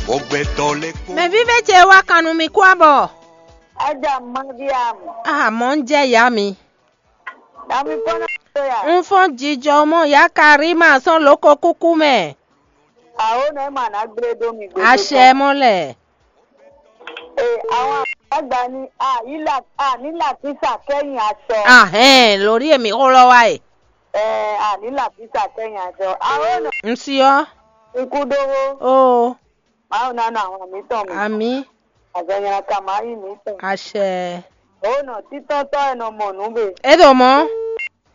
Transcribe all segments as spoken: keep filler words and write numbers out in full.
Gbɔgbɛtɔ lɛ́ kpó. Mɛ vívɛ ce wá kan nú mi kú abɔ. Ájá Mariam. Ah, mɔ ń jẹ́ ìyá mi. Dami kpɔ́n náà tó yà. Ń fɔ́n jijɔ mɔ ìyá Karima sɔ́n lóko kúkú mɛ. Àwòrán ẹ̀ mà ná gbé dó mi gbé. Àṣẹ mọ́ lẹ̀. Ee, àwọn àgbàlagbà ni àyílà ànílà kísà kẹ́yìn aṣọ. Ahẹ́n, lórí èmi xó lɔ wá e. Ẹ ànílà kísà kẹ́yìn aṣọ. Àwòrán. Ń sí ọ́. Ikú dówó. Ó. Mawu ná nɔ àwọn mǐtɔn mi. Àmì. Àzɔnyala ka máa yí mǐtɔn. Àṣẹ. Ó nɔ títɔ́tɔ́ ẹ̀ nɔ mɔ nǔ be. É ɖo mɔ̌.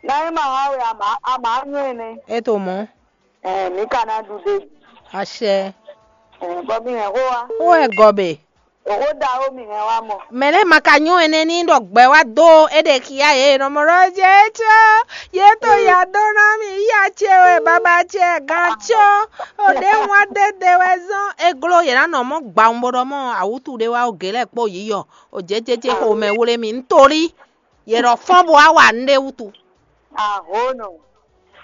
Náyé máa wá wɛ àmà àmà nyɔ́ ɛnɛ. É ɖo mɔ̌. Ɛ mǐ ka ná ɖu ɖe. Àṣẹ. Ɛ bɔ mi hɛn xó wa. Ó wɛ gɔbɛ. Òxó da ó mi hɛn wa mɔ. Mɛ lɛ́ɛ ma ka nyɔ́ ɛnɛ ní ɖɔ gbɛ wá dó é ɖe xia yě nɔ mɔ ɖɔ jɛ é có yě tó ya dó ná mì yá ce wɛ baba ce gán có. Ò ɖě wá dé de wɛ zɔ́n é gló yě ná nɔ mɔ gbawun bó ɖɔ mɔ awútu ɖé wá ó gě lɛ́ɛ kpó yǐyɔ ò jɛ́jɛ́jɛ́ xomɛ wlé mì nítorí yě ɖɔ fɔ́n bó wá wa nǔɖé wútu. Ahonɔ.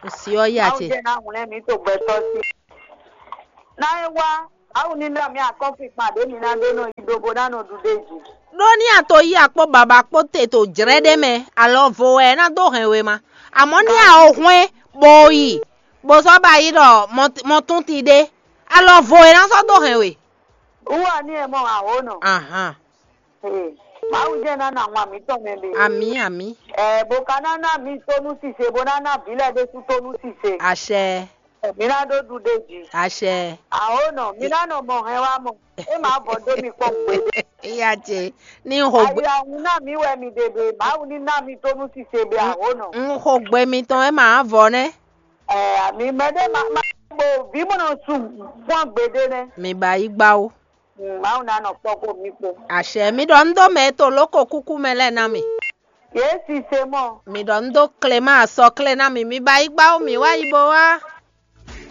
Nsi ɔ́ yá Mawu ce. Jɛ ná hwlɛ́n mǐ to gbɛtɔ́ sí. Ná é wá, Mawu ní ná mǐ akɔ́nkpinkpan ɖě mi ná ɖó nɔ yi ɖó bó ná nɔ ɖu ɖ'é jí. Ɖó ní a to yí akpó baba kpó te to jlɛ́ ɖé mɛ, alɔ vo wɛ é ná dó hɛn we ma. Amɔ̌ ní a o hwɛ́n bó yi, bó sɔ́ ba yi ɖɔ mɔ tún ti ɖé, alɔ vo é ná sɔ́ dó hɛn we. Wúwa ní ɛ mɔ Ahonɔ. Ahan. Ee, Mawu jẹ́ ná nɔ ahwan mǐtɔn mɛ ɖe. Amǐ, amǐ. Ɛɛ, bó ka ná ná mǐ tónú sise, bó ná ná vǐ lɛ́ɛ ɖésú tónú sise. Àṣẹ. Mǐ ná ɖó ɖuɖéjì. Àṣẹ. Àwònɔ, mǐ ná nɔ mɔ hɛn wá mɔ. É máa vɔ dó mi kpɔ́n gbeɖé. Iya ce, ní n xo gbe. Ayihún ná mǐ wɛ mi ɖe ɖe, Mawu ní ná mi tónú sise ɖe àwònɔ. N xo gbe mitɔn é máa vɔ nɛ́. Ɛɛ, àmì mɛɖé ma ma bo vǐ mɔnɔ su kpɔ́n gbeɖé nɛ́. Mi ba yí gbá ó. Mm, Mawu ná nɔ kpɔ́ kó mǐ kpó. Àṣɛ, mi ɖɔ un dó mɛ e to lóko kúkú mɛ lɛ́ɛ ná mi. Yě sise mɔ. Mi ɖɔ un dó Clément asɔklé ná mi, mi ba yí gbá ó, mi wá yi bo wá.